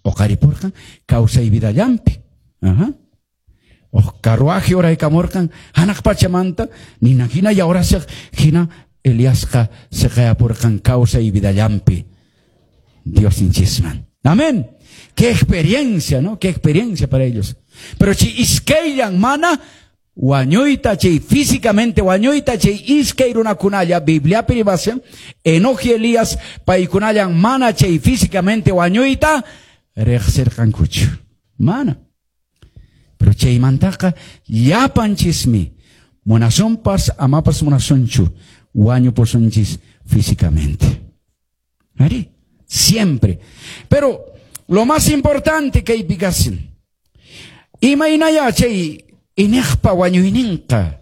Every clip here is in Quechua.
Oqaripurqan kawsay vidallanpi. Aha. Uj carruaje uraykamurqan hanaq pachamanta nina hina yawrashaq hina Eliasqa siqayapurqan kawsay vidallanpi Diosninchisman. Amén. Qué experiencia, ¿no? Qué experiencia para ellos. Pero chay iskayllan mana wañuyta, chay físicamente wañuyta, chay iskay runakunalla, Bibliapi rimashan, Enoch y Elías, paykunallan mana chay físicamente wañuyta riqsirqankuchu. Mana. Pero chaymantaqa llapanchismi munasunpas amapas munasunchu wañupusunchis físicamente. Ari, siempre. Pero lo más importante kaypi kashan, imaynaya chay iñiqpa wañuyninqa.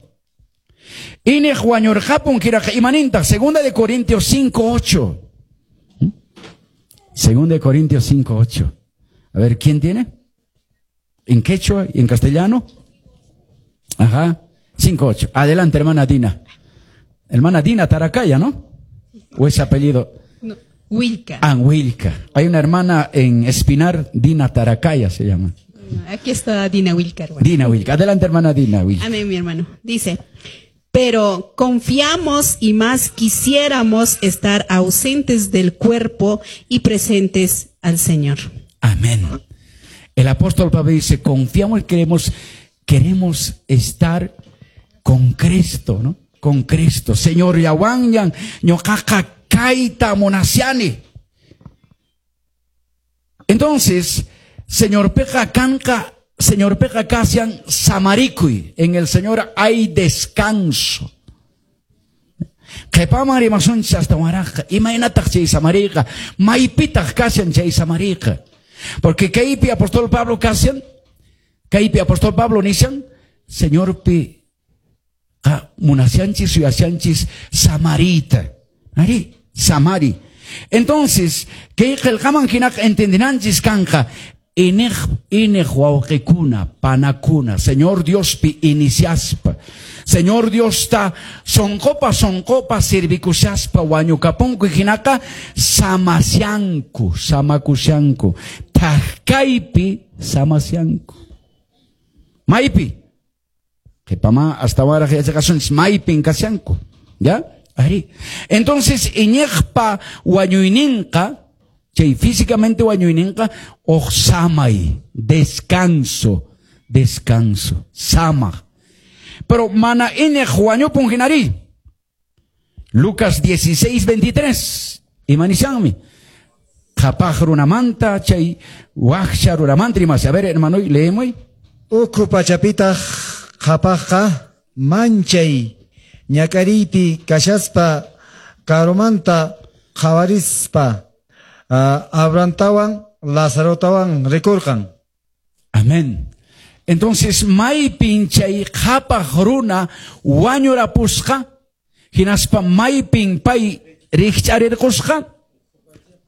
Iñiq wañurqapun hinaqa imanintaq? Segunda de Corintios 5:8. Segunda de Corintios 5:8. A ver, ¿quién tiene? ¿En quechua y en castellano? Ajá, 5:8. Adelante, hermana Dina. Hermana Dina Taracaya, ¿no? ¿O ese apellido? No, Wilca. Ah, Wilca. Hay una hermana en Espinar, Dina Taracaya se llama. Aquí está Dina Wilca, hermano. Dina Wilca. Adelante, hermana Dina Wilca. Amén, mi hermano. Dice, pero confiamos y más quisiéramos estar ausentes del cuerpo y presentes al Señor. Amén. El apóstol Pablo dice, confiamos y queremos estar con Cristo, ¿no? Con Cristo. Señor, yawanyan, ñoqaqa kayta munashani. Entonces, Señor peqa kanqa, Señor peqa kashan samarikuy. En el Señor hay descanso. Qhipaman rimasunchis astawanraqqa. Imaynataq chay samariyqa? Maypitaq kashan chay samariyqa? Porque kaypi apóstol Pablo kashan, kaypi apóstol Pablo nishan, Señorpi qa munashanchis suyashanchis samariyta. Ari, samari. Entonces, kay qillqaman hinaqa entendinanchis kanqa, iñiq wawqikuna, panakuna, Señor Diospi iniciaspa, Señor Diosta sonqopa sonqopa sirvikushaspa wañukapunku hinaqa samasyanku, samakushanku, thak-kaypi samasyanku. Maypi? Qhipama astawanraq yachaqasunchis maypin kashanku, ¿ya? Ari. Entonces, iñiqpa wañuyninqa, chay físicamente wañuyninqa, uj samay, descanso, descanso, samaq. Pero mana iñiq wañupun hinari. Lucas 16:23. Imanishanmi. Qhapaq runamanta, chay wakcha runamanta rimashan. A ver, hermano, leemos. Ukhu pachapitaq qhapaqqa manchay ñak'ariypi kashaspa karumanta qhawarispa, Abrahamtawan Lazarotawan rikurqan. Amén. Entonces, maypin chay qhapaq runa wañurapusqa, hinaspa maypin pay rikch'arirqusqa,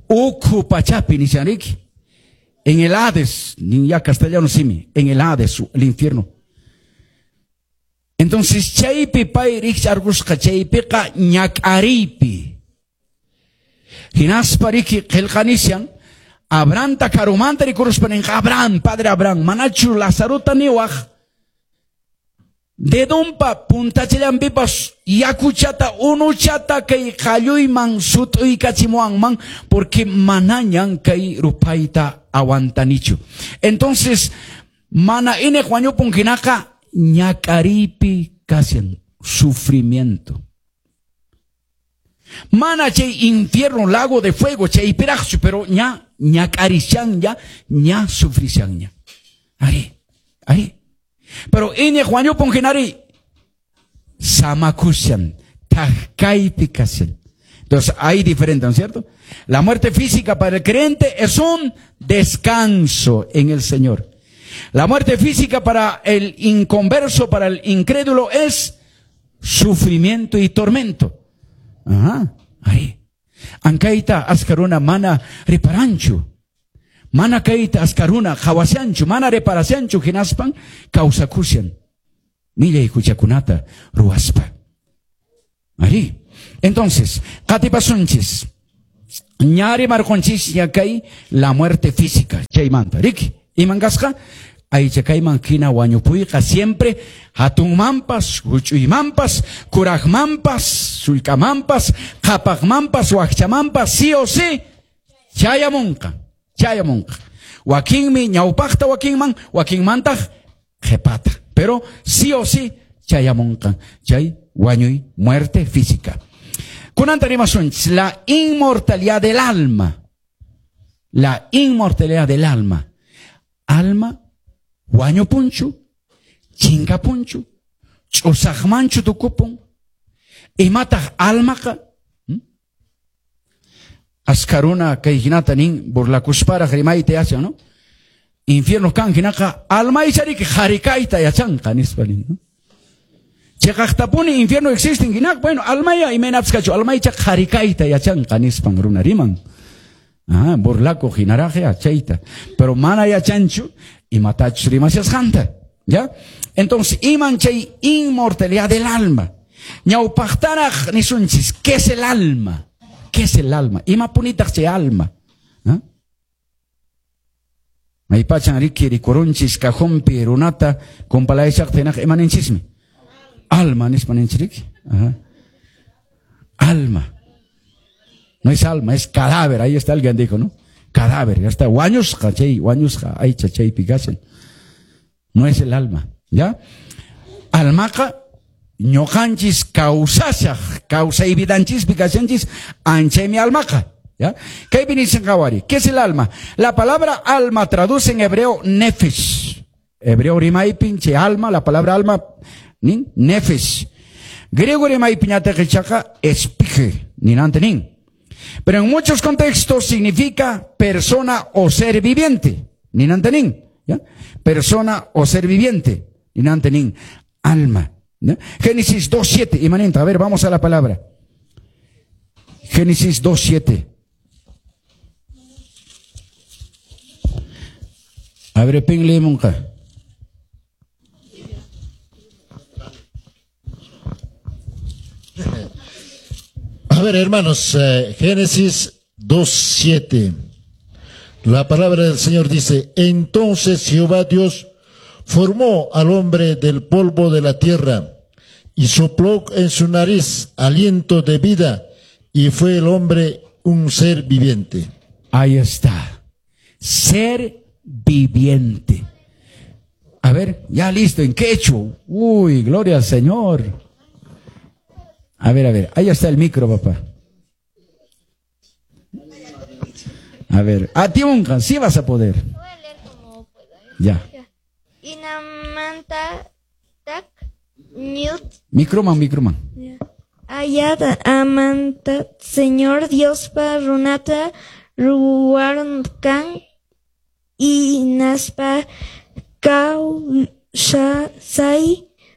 ukhu pachapi nishan riki. En el Hades, ni ya castellano simi, en el Hades, el infierno. Entonces, chaypi pay rikch'arqusqa, chaypiqa ñak'ariypi. Hinaspa riki qillqanishan, Abrahamta karumanta rikuruspa ninqa, Abraham, padre Abraham, manachu Lazarota niwaq, dedonpa puntachallanpipas yakuchata, unuchata kay qalluyman sut'uykachimuwanman, porque manañan kay rupayta aguantanichu. Entonces, mana iñiq wañupun hinaqa ñak'ariypi kashan, sufrimiento. Mana chay infierno, lago de fuego, chaypiraqchu, pero ña ñak'arishan ya, ña sufrishan ña. Ari, ari. Pero iñiq wañupun hinari samakushan, thak-kaypi kashan. Entonces hay diferente, ¿no es cierto? La muerte física para el creyente es un descanso en el Señor. La muerte física para el inconverso, para el incrédulo, es sufrimiento y tormento. Ajá, ahí. Ankayta askaruna mana riparanchu. Mana kayta askaruna qhawashanchu, mana reparashanchu hinaspan kawsakushan. Millay huchakunata ruwaspa. Ari. Entonces, qatipasunchis. Ñari marqunchis kay la muerte física. Chaymanta, riki. Iman kasqa? Aycha kayman hina wañupuyqa siempre hatunmanpas, huch'uymanpas, kuraqmanpas, sullk'amanpas, qhapaqmanpas, wakchamanpas, sí o sí, chayamunqa, chayamunqa. Wakinmi ñawpaqta wakinman, wakinmantaq qhipata. Pero sí o sí chayamunqa. Chay wañuy, muerte física. Kunanta rimasunchis la inmortalidad del alma. La inmortalidad del alma. Alma wañupunchu, chinkapunchu, ch'usaqmanchu tukupun. Imataq almaqa? Askaruna kay hinata nin burlakusparaq rimayta yachan, ¿no? Infierno kan hinaqa alma ichariki qharikayta yachanqa nispa nin, ¿no? Chiqaqtapuni infierno existen hinaqa, bueno, almaya imaynapis kachu, almaycha qharikayta yachanqa nispan runa riman. Ah, burlakuq hinaraq chayta. Pero mana yachanchu imatachus rimashasqanta, ¿ya? Entonces, iman chay inmortalidad del alma. Ñawpaqtaraq nisunchis, ¿qué es el alma? ¿Qué es el alma? Imapunitaq chay alma? ¿Ah? Maypachan riki rikurunchis cajompi runata kumpalayshaqta hinaqa imaninchismi? Alma nispa ninchis riki. Ajá. Alma. No es alma, es cadáver. Ahí está alguien dijo, ¿no? Cadáver, ya está. Wañusqa, chay, wañusqa, aycha chaypi kashan. No es el alma, ¿ya? Almaqa ñuqanchis kawsashaq, kawsay vidanchispi kashanchis, anchaymi almaqa, ¿ya? Kaypi nichan qhawari, ¿qué es el alma? La palabra alma traduce en hebreo nefesh. Hebreo rimaypin chay alma, la palabra alma nin nefesh. Griego rimaypiñataq ichaqa espige, ninante nin. Pero en muchos contextos significa persona o ser viviente. Ninante nin, ¿ya? Persona o ser viviente. Ninante nin, alma. ¿Ya? Génesis 2.7, imanenta. A ver, vamos a la palabra. Génesis 2.7. A ver, pinle monja. A ver, hermanos, Génesis 2.7. La palabra del Señor dice: entonces Jehová Dios formó al hombre del polvo de la tierra y sopló en su nariz aliento de vida, y fue el hombre un ser viviente. Ahí está. Ser viviente. A ver, ya listo, en quechua. Uy, gloria al Señor. A ver, ahí está el micro, papá. A ver, a ti, Unca, sí vas a poder. Voy a leer como puedo, ¿eh? Ya. Inamanta tak ñut. Microman, microman. Ayat amanta, Señor Dios pa runata ruwarkan y naspa kawsay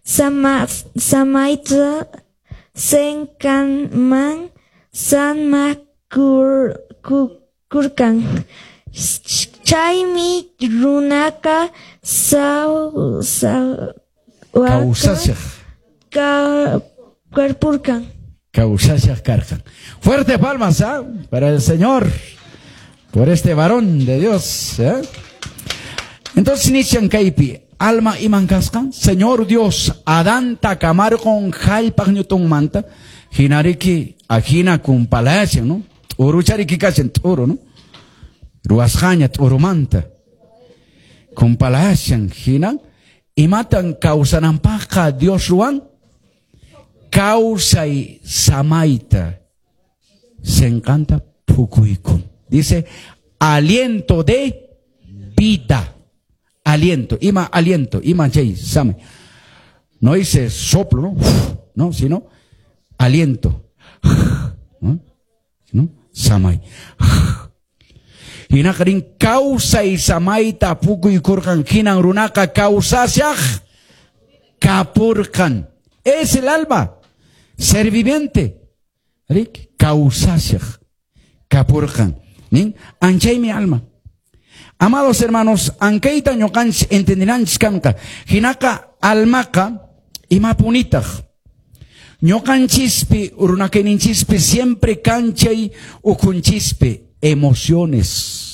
samaita senkanman sanmakurkan. Chaymi runaka kawsashaq karpurkan. Kawsashaq karkan. Fuerte palmas, ¿ah? Para el Señor, por este varón de Dios, ¿eh? Entonces inician kaypi alma iman kasqan, Señor Dios, Adanta kamarqon jallpaq ñutunmanta, hinariki ajina kumpalashan, ¿no? T'uruchariki kashan, t'uru, ¿no? Ruwasqaña t'urumanta. Kumpalashan, hina, imatan kawsananpaqqa Dios ruwan? Kawsay samayta senqanta phukuykun. Dice, aliento de vida. Aliento, ima aliento, ima chay, samay. No dice soplo, ¿no? No, sino aliento. ¿No? ¿No? Samay. Hinaqarin kawsay samayta pukuykurqan, hinan runaqa kawsashaq kapurqan. Es el alma, ser viviente. Rik, kawsashaq kapurqan. Nin, anchaymi alma. Amados hermanos, ankayta ñuqanchis entendenanchis kanqa. Hinaqa almaqa imapunitaq. Ñuqanchispi, runakayninchispi, siempre kanchay ukhunchishpi, emociones.